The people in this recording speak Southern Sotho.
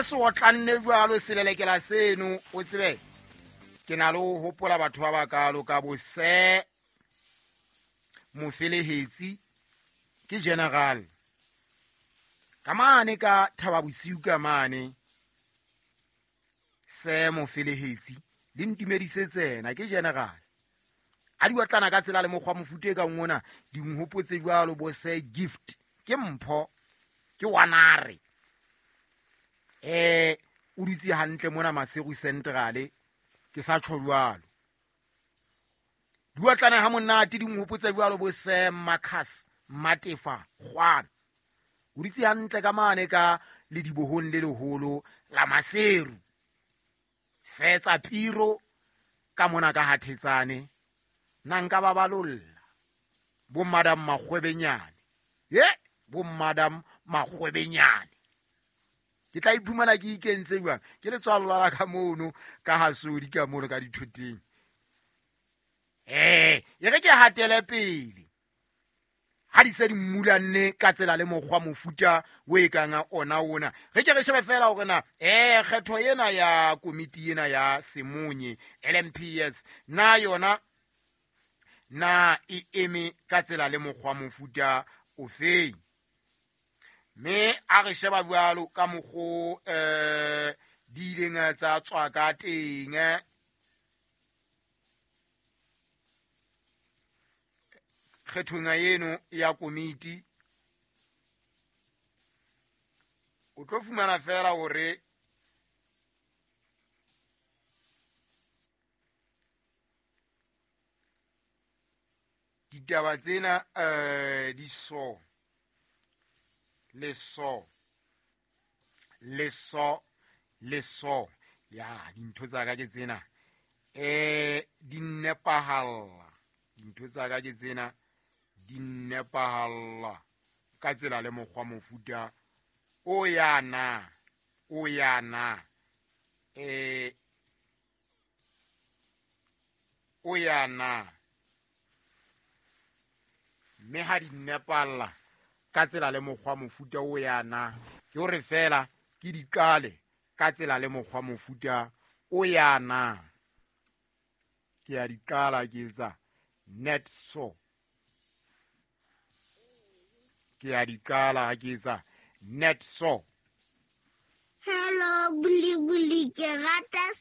Se otlanne jwalo selelekela seno, o tsebe ke na le ho hopola batho ba bakalo ka bo se Mofelehetsi, ke general ka mane ka Thaba Bosiu, ka mane se Mofelehetsi le ntumedise tsena, ke general a di otlana ka tsela le mokgwa mofuta e kang ona. Di nhopotse jwalo bo se Gift, ke mpho, ke wanare o dutse hantle mona Maseru Centrale, ke sa tjho jwalo. Di otlana ha monate, di nhopotse jwalo bo se Marcus Matefa Kgwana, o dutse hantle ka mane ka ledibohong le leholo la Maseru, setsa piro ka mona ka Hathetsane. Nna nka ba balolla bo Madam Makgwebenyane, ye bo Madam Makgwebenyane, ke tla iphumana ke ikentse jwang, ke letswalo la ka mono ka hasodi ka mono ka dithoteng. E re ke hatele pele ha di se di mmulanne ka tsela le mokgwa mofuta o e kang ona ona. Re ke re shebe fela hore na kgetho ena ya komiti ena ya Simunye LMPS na yona na e eme ka tsela le mokgwa mofuta ofeng. Mme a re sheba jwalo ka mokgo di ileng tsa tswa ka teng kgethong eno ya komiti, o tlo fumana fela hore ditaba tsena di so le so le so le so ya dintho tsa ka ke tsena di nepahalla, dintho tsa ka ke tsena di nepahalla ka tsela le mokgwa mofuta o yana o yana o yana. Mme ha di nepalla ka tsela le mokgwa mofuta o yana, ke hore fela ke di qale ka tsela le mokgwa mofuta o yana. Ke a di qala ke etsa net so, ke a di qala ke etsa net so. Hello, Buli Buli, ke rata